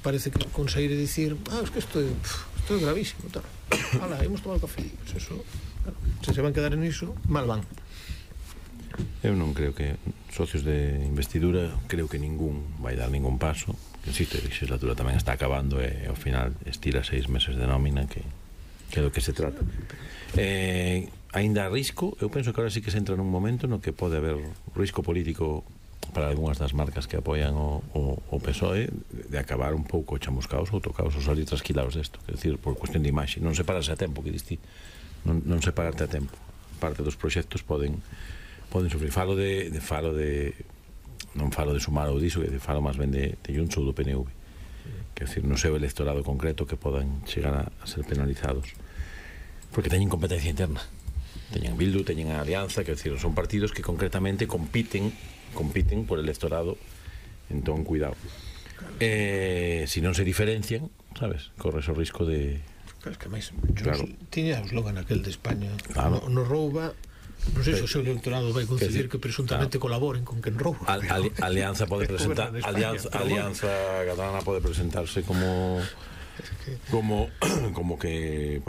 parece que conseguir dicir es que isto é gravísimo, tal. Ala, imos tomar café. Pues eso, claro, se van quedar en iso, mal van. Eu non creo que socios de investidura, creo que ningún vai dar ningún paso. Insisto, a legislatura tamén está acabando e ao final estira 6 meses de nómina, que é do que se trata. Ainda a risco, eu penso que ahora sí que se entra nun momento no que pode haber risco político para algunhas das marcas que apoian o PSOE de acabar un pouco chamuscaos ou tocaos ou salir trasquilados desto, é dicir, por cuestión de imaxe, non se pararse a tempo, que diste, non se pararte a tempo. Parte dos proxectos poden sufrir. Falo de non falo de Sumar ou diso, que falo máis ben de Junts ou do PNV, que é dicir, no seu electorado concreto que podan chegar a ser penalizados porque teñen competencia interna, teñen Bildu, teñen a Alianza, que é dicir, son partidos que concretamente compiten por electorado, entón cuidado. Se non se diferencian, sabes, corres o risco de... Claro, es que máis, tiña o slogan aquel de España, no rouba. Non sei se o seu electorado vai conceder que presuntamente colaboren con quen rouba. Alianza pode presentar, Alianza Catalana pode presentarse como que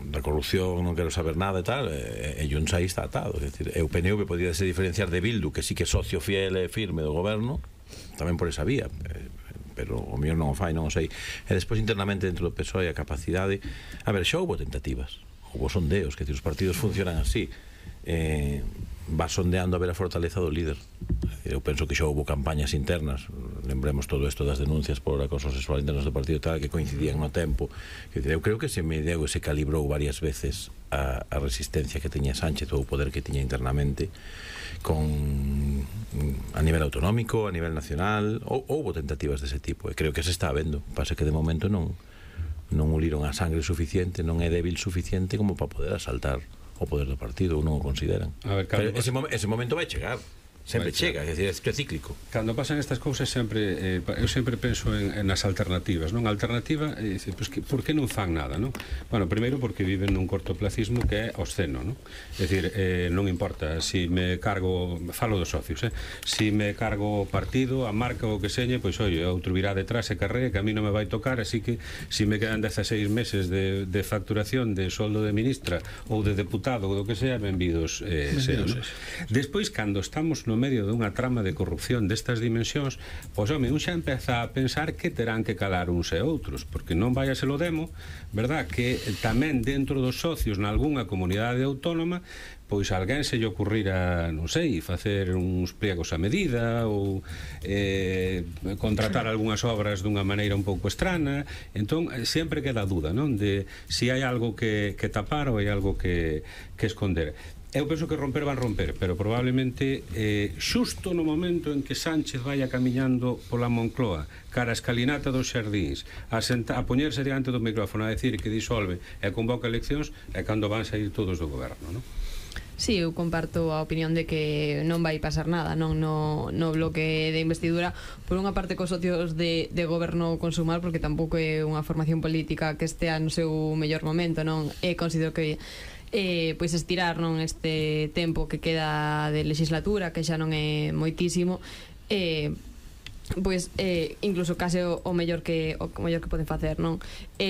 da corrupción non quero saber nada e tal, e Junts aí está atado. É dicir, o PNV podría se diferenciar de Bildu, que sí que é socio fiel e firme do goberno, tamén por esa vía, pero o mellor non o fai, non o sei. E despois internamente dentro do PSOE a capacidade, a ver, xa houbo tentativas, houbo sondeos, que os partidos funcionan así, va sondeando a ver a fortaleza do líder. Eu penso que xa houbo campañas internas, lembremos todo isto das denuncias por acoso sexual internas do partido tal, que coincidían no tempo. Eu creo que se medeu e se calibrou varias veces a resistencia que teña Sánchez ou o poder que tiña internamente a nivel autonómico, a nivel nacional. Houbo tentativas dese tipo e creo que se está vendo. Pasa que de momento non uliron a sangre suficiente, non é débil suficiente como para poder asaltar o poder do partido, ou non o consideran. Pero ese momento vai chegar. Sempre chega, é dicir, é cíclico. Cando pasan estas cousas sempre eu sempre penso nas alternativas, non? A alternativa é dicir, pues, por que non fan nada, non? Bueno, primeiro porque viven nun cortoplacismo que é obsceno, non? É dicir, non importa si me cargo, falo dos socios, si me cargo o partido, a marca ou que señe, pois oi, outro virá detrás e carré, que a mí non me vai tocar, así que si me quedan 16 meses de facturación de soldo de ministra ou de deputado ou do que sea, benvidos sean, non? Despois, cando estamos no medio dunha trama de corrupción destas dimensións, pois home, un xa empeza a pensar que terán que calar uns e outros, porque non vai a se lo demo, verdad, que tamén dentro dos socios nalgúnha comunidade autónoma pois alguén se lle ocurrira, non sei, facer uns pliegos a medida ou contratar algunhas obras dunha maneira un pouco estrana. Entón, sempre queda a dúda, non? De si hai algo que tapar ou hai algo que esconder. Eu penso que romper van romper, pero probablemente xusto no momento en que Sánchez vaya camiñando pola Moncloa cara a escalinata dos xardíns a poñerse diante do micrófono a decir que disolve e convoca eleccións, é cando van sair todos do goberno, non? Sí, eu comparto a opinión de que non vai pasar nada, non no bloque de investidura, por unha parte cos socios de goberno con Sumar, porque tampouco é unha formación política que estea no seu mellor momento, non? E considero que pois estirar non este tempo que queda de legislatura, que xa non é moitísimo, pois incluso case o mellor que poden facer, non?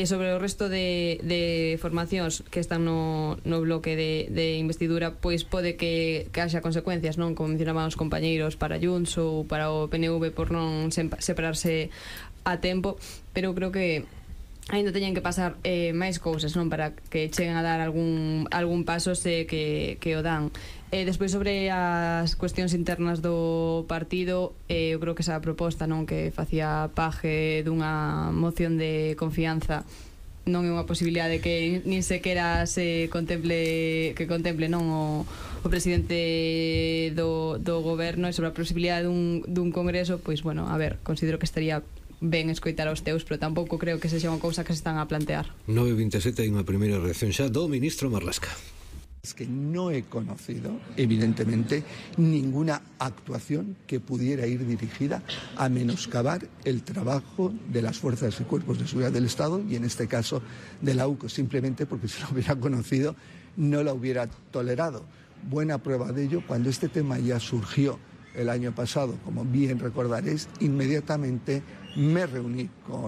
Sobre o resto de formacións que están no bloque de investidura, pois pode que haxa consecuencias, non? Como mencionaban os compañeiros, para Junts ou para o PNV por non separarse a tempo, pero creo que ainda teñen que pasar máis cousas, non, para que cheguen a dar algún paso que o dan. Despois sobre as cuestións internas do partido, eu creo que esa proposta, non, que facía Paje dunha moción de confianza non é unha posibilidade que nin sequera se contemple non o presidente do goberno, e sobre a posibilidade dun congreso, pois bueno, a ver, considero que estaría ben escoitar aos teus, pero tampouco creo que sexa unha cousa que se están a plantear. 9:27 hai unha primeira reacción xa do ministro Marlaska. Es que no he conocido, evidentemente, ninguna actuación que pudiera ir dirigida a menoscabar el trabajo de las fuerzas y cuerpos de seguridad del Estado, y en este caso de la UCO, simplemente porque si lo hubiera conocido no la hubiera tolerado. Buena prueba de ello, cuando este tema ya surgió el año pasado, como bien recordaréis, inmediatamente me reuní con